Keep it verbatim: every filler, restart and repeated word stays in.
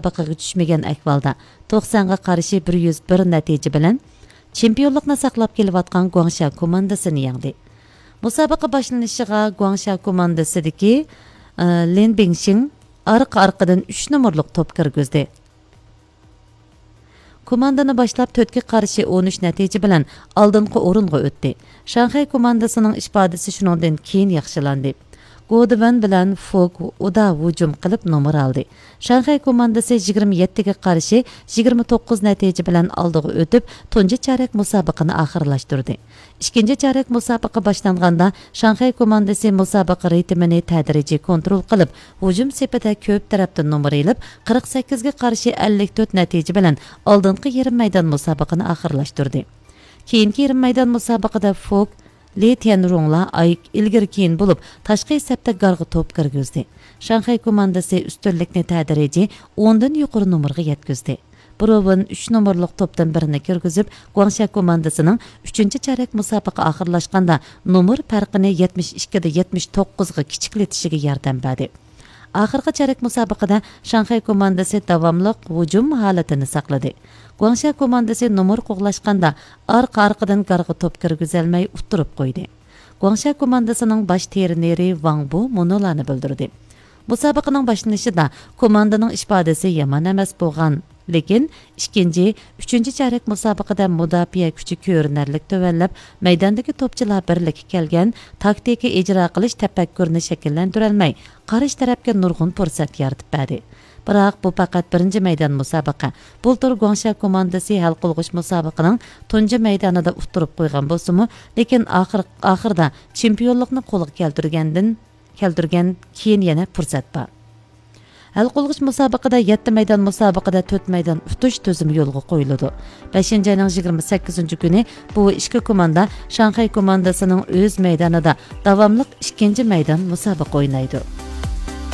ئىتتىپاقىغا چۈشمىگەن ئەھۋالدا، توقسانغا قارشى بىر يۈز بىر نەتىجە بىلەن چېمپىيونلۇقنى ساقلاپ كېلىۋاتقان گۇاڭشيا كوماندىسىنى يەڭدى. مۇسابىقە باشلىنىشىغا گۇاڭشيا كوماندىسىدىكى، ئى، لىن بىڭشىڭ ئارقا-ئارقىدىن ئۈچ نومۇرلۇق توپ كىرگۈزدى. كوماندىنى باشلاپ تۆتكە قارشى ئون ئۈچ نەتىجە بىلەن ئالدىنقى ئورۇنغا ئۆتتى. شاڭخەي كوماندىسىنىڭ ئىپادىسى شۇنىڭدىن كېيىن ياخشىلاندى. گودىۋېن بىلەن فوك ئۇدا ھۇجۇم قىلىپ نومۇر ئالدى. شاڭخەي كوماندىسى يىگىرمە يەتتىگە قارشى يىگىرمە توققۇز نەتىجە بىلەن ئالدىغا ئۆتۈپ، تۇنجى چارەك مۇسابىقىنى ئاخىرلاشتۇردى. ئىككىنچى چارەك مۇسابىقە باشلانغاندا، شاڭخەي كوماندىسى مۇسابىقە رىتىمىنى تەدرىجىي كونترول قىلىپ، ھۇجۇم سېپىدە كۆپ تەرەپتىن نومۇر ئېلىپ، قىرىق سەككىزگە قارشى ئەللىك تۆت نەتىجە بىلەن ئالدىنقى يېرىم مەيدان مۇسابىقىنى ئاخىرلاشتۇردى. كېيىنكى يېرىم مەيدان مۇسابىقىدە فوك، لى تيەنرۇڭلار ئاي-، ئىلگىرى كېيىن بولۇپ، تاشقى سەپتە گارغا توپ كىرگۈزدى. شاڭخەي كوماندىسى ئۈستۈنلۈكنى تەدرىجىي ئوندىن يۇقىرى نومۇرغا يەتكۈزدى. بروۋېن ئۈچ نومۇرلۇق توپتىن بىرنى كىرگۈزۈپ، گۇاڭشيا كوماندىسىنىڭ ئۈچىنچى چارەك مۇسابىقە ئاخىرلاشقاندا نومۇر پەرقىنى يەتمىش ئىككىدە يەتمىش توققۇزغا كىچىكلىتىشىگە ياردەم بەردى. ئاخىرقى چارەك مۇسابىقىدە شاڭخەي كوماندىسى داۋاملىق ھۇجۇم ھالىتىنى ساقلىدى. گۇاڭشيا كوماندىسى نومۇر قوغلاشقاندا، ئارقا-ئارقىدىن گارغا توپ كىرگۈزەلمەي ئۇتتۇرۇپ قويدى. گۇاڭشيا كوماندىسىنىڭ باش ترېنېرى ۋاڭ بۇ مۇنۇلارنى بىلدۈردى. مۇسابىقىنىڭ باشلىنىشىدا كوماندىنىڭ ئىپادىسى يامان ئەمەس بولغان، لېكىن ئىككىنچى، ئۈچىنچى چارەك مۇسابىقىدە مۇداپىئە كۈچى كۆرۈنەرلىك تۆۋەنلەپ، مەيداندىكى توپچىلار بىرلىككە كەلگەن، تاكتىكا ئىجرا قىلىش تەپەككۇرىنى شەكىللەندۈرەلمەي، قارشى تەرەپكە نۇرغۇن پۇرسەت يارىتىپ بەردى. بىراق، بۇ پەقەت بىرىنچى مەيدان مۇسابىقە. بۇلتۇر گۇاڭشيا كوماندىسى ھەل قىلغۇچ مۇسابىقىنىڭ تۇنجى مەيدانىدا ئۇتتۇرۇپ قويغان بولسىمۇ، لېكىن ئاخىر-، ئاخىرىدا چېمپىيونلۇقنى قولغا كەلتۈرگەندىن، كەلتۈرگەن كېيىن يەنە پۇرسەت بار. ھەل قىلغۇچ مۇسابىقىدە يەتتە مەيدان مۇسابىقىدە تۆت مەيدان ئۇتۇش تۈزۈمى يولغا قويۇلىدۇ. بەشىنچى ئاينىڭ يىگىرمە سەككىزىنچى كۈنى بۇ ئىككى كوماندا شاڭخەي كوماندىسىنىڭ ئۆز مەيدانىدا داۋاملىق ئىككىنچى مەيدان مۇسابىقە ئوينايدۇ.